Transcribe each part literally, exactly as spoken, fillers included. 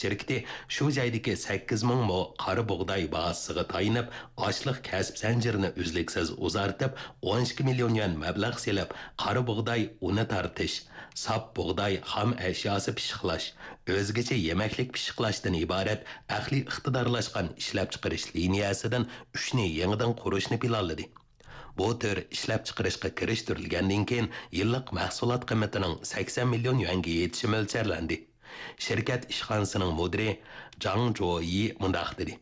شىركىتى شۇ جايدىكى سەككىز مىڭ مو قارا بۇغداي بازىسىغا تايىنىپ، ئاشلىق كەسىپ زەنجىرىنى ئۈزلۈكسىز ئۇزارتىپ، ئون ئىككى مىليون يۈەن مەبلەغ سېلىپ، قارا بۇغداي ئۇنى تارتىش، ساپ بۇغداي خام ئەشياسى پىششىقلاش، ئۆزگىچە يېمەكلىك پىششىقلاشتىن ئىبارەت ئەقلىي ئىقتىدارلاشقان ئىشلەپچىقىرىش لىنىيەسىدىن ئۈچنى يېڭىدىن قۇرۇشنى پىلانلىدى. بۇ تۈر ئىشلەپچىقىرىشقا كىرىشتۈرۈلگەندىن كېيىن، يىللىق مەھسۇلات قىممىتىنىڭ سەكسەن مىليون يۈەنگە يېتىشى مۆلچەرلەندى. شىركەت ئىشخانىسىنىڭ مۇدىرى جاڭ جويى مۇنداق دېدى: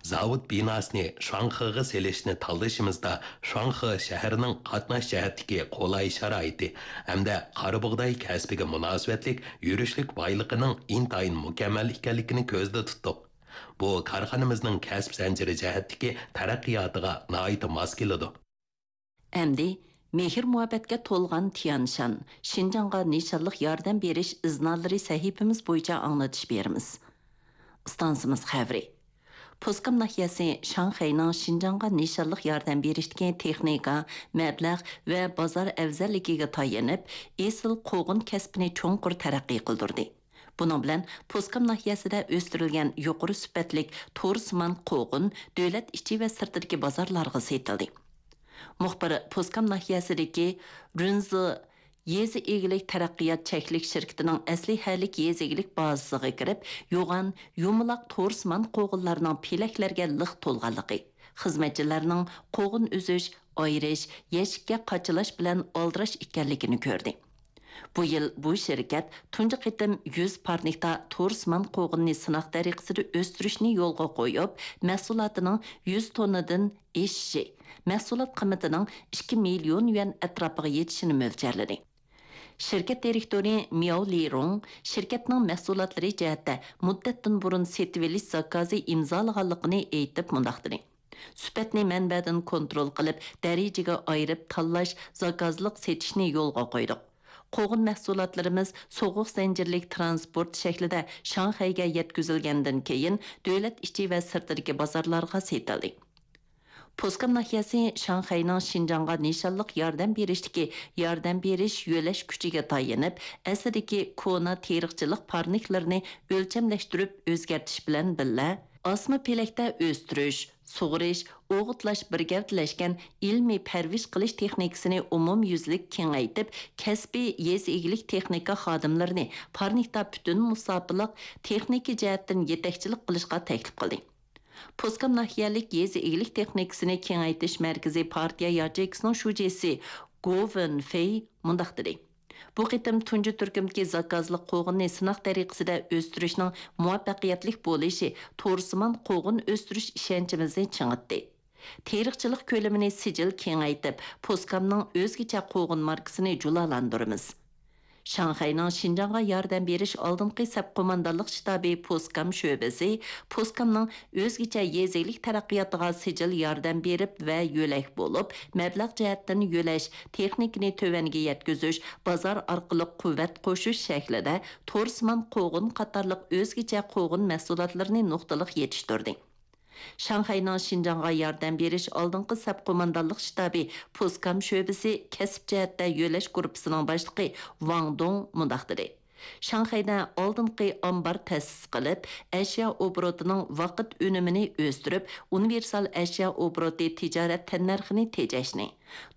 زاۋۇت بىناسىنى شۇاڭخېغا سېلىشنى تاللىشىمىزدا، شۇاڭخې شەھىرىنىڭ قاتناش جەھەتتىكى قولاي شارائىتى ھەمدە قارا بۇغداي كەسپىگە مۇناسىۋەتلىك يۈرۈشلۈك بايلىقىنىڭ ئىنتايىن مۇكەممەل ئىكەنلىكىنى كۆزدە تۇتتۇق. بۇ كارخانىمىزنىڭ كەسىپ زەنجىرى جەھەتتىكى تەرەققىياتىغا ناھايىتى ماس كېلىدۇ. ئەمدى مېھىر-مۇھەببەتكە تولغان تيانشان، شىنجاڭغا نىشانلىق ياردەم بېرىش ئىزنالىرى سەھىپىمىز بويىچە ئاڭلىتىش بېرىمىز. ئىستانسىمىز خەۋىرى. پوسكام ناھىيەسى شاڭخەينىڭ شىنجاڭغا نىشانلىق ياردەم بېرىشتىكى تېخنىكا، مەبلەغ ۋە بازار ئەۋزەللىكىگە تايىنىپ، ئېسىل قوغۇن كەسپىنى چوڭقۇر تەرەققىي قىلدۇردى. بۇنىڭ بىلەن پوسكام ناھىيەسىدە ئۆستۈرۈلگەن يۇقىرى سۈپەتلىك تورسىمان قوغۇن دۆلەت ئىچى ۋە سىرتىدىكى بازارلارغا سېتىلدى. مۇخبىر پوسكام ناھىيەسىدىكى رۇنزې يېزا ئىگىلىك تەرەققىيات چەكلىك شىركىتىنىڭ ئەسلىھەلىك يېزا ئىگىلىك بازىسىغا كىرىپ، يوغان، يۇمىلاق تورسىمان قوغۇنلارنىڭ پېلەكلەرگە لىق تولغانلىقى، خىزمەتچىلەرنىڭ قوغۇن ئۈزۈش، ئايرىش، يەشىككە قاچىلاش بىلەن ئالدىراش ئىكەنلىكىنى كۆردى. بۇ يىل بۇ شىركەت تۇنجى قېتىم يۈز پارنىكتا تورسىمان قوغۇننى سىناق تەرىقىسىدە ئۆستۈرۈشنى يولغا قويۇپ، مەھسۇلاتىنىڭ يۈز توننىدىن ئېشىشى، مەھسۇلات قىممىتىنىڭ ئىككى مىليون يۈەن ئەتراپىغا يېتىشىنى مۆلچەرلىدى. شىركەت دىرېكتورى مياۋ لىرۇڭ شىركەتنىڭ مەھسۇلاتلىرى جەھەتتە مۇددەتتىن بۇرۇن سېتىۋېلىش زاكازى ئىمزالىغانلىقىنى ئېيتىپ مۇنداق دېدى: سۈپەتنى مەنبەدىن كونترول قىلىپ، دەرىجىگە ئايرىپ تاللاش، زاكازلىق سېتىشنى يولغا قويدۇق. قوغۇن مەھسۇلاتلىرىمىز سوغۇق زەنجىرلىك تىرانسپورت شەكلىدە شاڭخەيگە يەتكۈزۈلگەندىن كېيىن، دۆلەت ئىچى ۋە سىرتىدىكى بازارلارغا سېتىلدى. پوسكام ناھىيەسى شاڭخەينىڭ شىنجاڭغا نىشانلىق ياردەم بېرىشتىكى ياردەم بېرىش يۆلەش كۈچىگە تايىنىپ، ئەسلىدىكى كونا تېرىقچىلىق پارنىكلىرىنى ئۆلچەملەشتۈرۈپ ئۆزگەرتىش بىلەن بىللە، ئاسما پېلەكتە ئۆستۈرۈش، سۇغىرىش، ئوغۇتلاش بىر گەۋدىلەشكەن ئىلمىي پەرۋىش قىلىش تېخنىكىسىنى ئومۇميۈزلۈك كېڭەيتىپ، كەسپىي يېزا ئىگىلىك تېخنىكا خادىملىرىنى پارنىكتا پۈتۈن مۇساپىلىق تېخنىكا جەھەتتىن يېتەكچىلىك قىلىشقا تەكلىپ قىلدى. پوسكام ناھىيەلىك يېزا ئىگىلىك تېخنىكىسىنى كېڭەيتىش مەركىزى پارتىيە ياچېيكىسىنىڭ شۇجىسى گو ۋېنفېي مۇنداق دېدى: بۇ قېتىم تۇنجى تۈركۈمدىكى زاكازلىق قوغۇننى سىناق تەرىقىسىدە ئۆستۈرۈشنىڭ مۇۋەپپەقىيەتلىك بولۇشى تورسىمان قوغۇن ئۆستۈرۈش ئىشەنچىمىزنى چىڭىتتى. تېرىقچىلىق كۆلىمىنى سىجىل كېڭەيتىپ، پوسكامنىڭ ئۆزگىچە قوغۇن ماركىسىنى جۇلالاندۇرىمىز. شاڭخەينىڭ شىنجاڭغا ياردەم بېرىش ئالدىنقى سەپ قوماندانلىق شتابى پوسكام شۆبىسى پوسكامنىڭ ئۆزگىچە يېزا ئىگىلىك تەرەققىياتىغا سىجىل ياردەم بېرىپ ۋە يۆلەك بولۇپ، مەبلەغ جەھەتتىن يۆلەش، تېخنىكىنى تۆۋەنگە يەتكۈزۈش، بازار ئارقىلىق قۇۋۋەت قوشۇش شەكلىدە تورسىمان قوغۇن قاتارلىق ئۆزگىچە قوغۇن مەھسۇلاتلىرىنى نۇقتىلىق يېتىشتۈردى. شاڭخەينىڭ شىنجاڭغا ياردەم بېرىش ئالدىنقى سەپ قوماندانلىق شتابى پوسكام شۆبىسى كەسىپ جەھەتتە يۆلەش گۇرۇپپىسىنىڭ باشلىقى ۋاڭ دۇڭ مۇنداق دېدى: شاڭخەيدە ئالدىنقى ئامبار تەسىس قىلىپ، ئەشيا ئوبوروتىنىڭ ۋاقىت ئۈنۈمىنى ئۆستۈرۈپ، ئۇنىۋېرسال ئەشيا ئوبوروتى تىجارەت تەننەرخىنى تېجەشنى،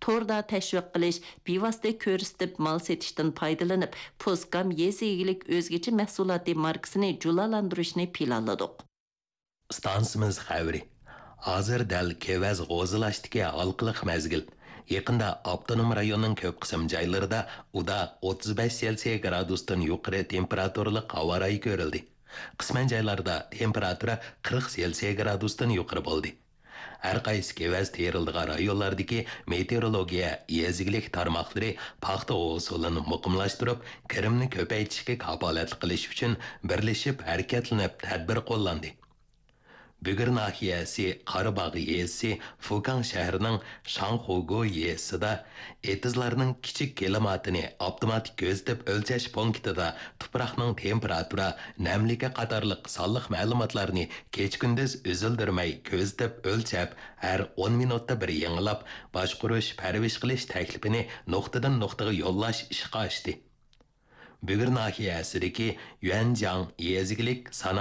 توردا تەشۋىق قىلىش، بىۋاسىتە كۆرسىتىپ مال سېتىشتىن پايدىلىنىپ، پوسكام يېزا ئىگىلىك ئۆزگىچە مەھسۇلاتى ماركىسىنى جۇلالاندۇرۇشنى پىلانلىدۇق. ئىستانسىمىز خەۋىرى. ھازىر دەل كېۋەز غوزىلاشتىكى ھالقىلىق مەزگىل. يېقىندا ئاپتونوم رايوننىڭ كۆپ قىسىم جايلىرىدا ئۇدا ئوتتۇز بەش سېلسىيە گرادۇستىن يۇقىرى تېمپېراتۇرىلىق ھاۋا رايى كۆرۈلدى. قىسمەن جايلاردا تېمپېراتۇرا قىرىق سېلسىيە گرادۇستىن يۇقىرى بولدى. ھەر قايسى كېۋەز تېرىلىدىغان رايونلاردىكى مېتېئورولوگىيە يېزا ئىگىلىك تارماقلىرى پاختا ھوسۇلىنى مۇقىملاشتۇرۇپ، كىرىمنى كۆپەيتىشكە كاپالەتلىك قىلىش ئۈچۈن بىرلىشىپ ھەرىكەتلىنىپ تەدبىر قوللاندى. بۈگۈر ناھىيەسى قاراباغ يېزىسى فۇكاڭ شەھىرىنىڭ شاڭخۇگۇ يېزىسىدا ئېتىزلارنىڭ كىچىك كىلىماتىنى ئاپتوماتىك كۆزىتىپ ئۆلچەش پونكىتىدا تۇپراقنىڭ تېمپېراتۇرا، نەملىكى قاتارلىق سانلىق مەلۇماتلارنى كېچە-كۈندۈز ئۈزۈلدۈرمەي كۆزىتىپ ئۆلچەپ، ھەر ئون مىنۇتتا بىر يېڭىلاپ باشقۇرۇش، پەرۋىش قىلىش تەكلىپىنى نۇقتىدىن نۇقتىغا يوللاش ئىشقا ئاشتى. بۈگۈر ناھىيەسىدىكى يۈەنجياڭ يېزا ئىگىلىك سانائەت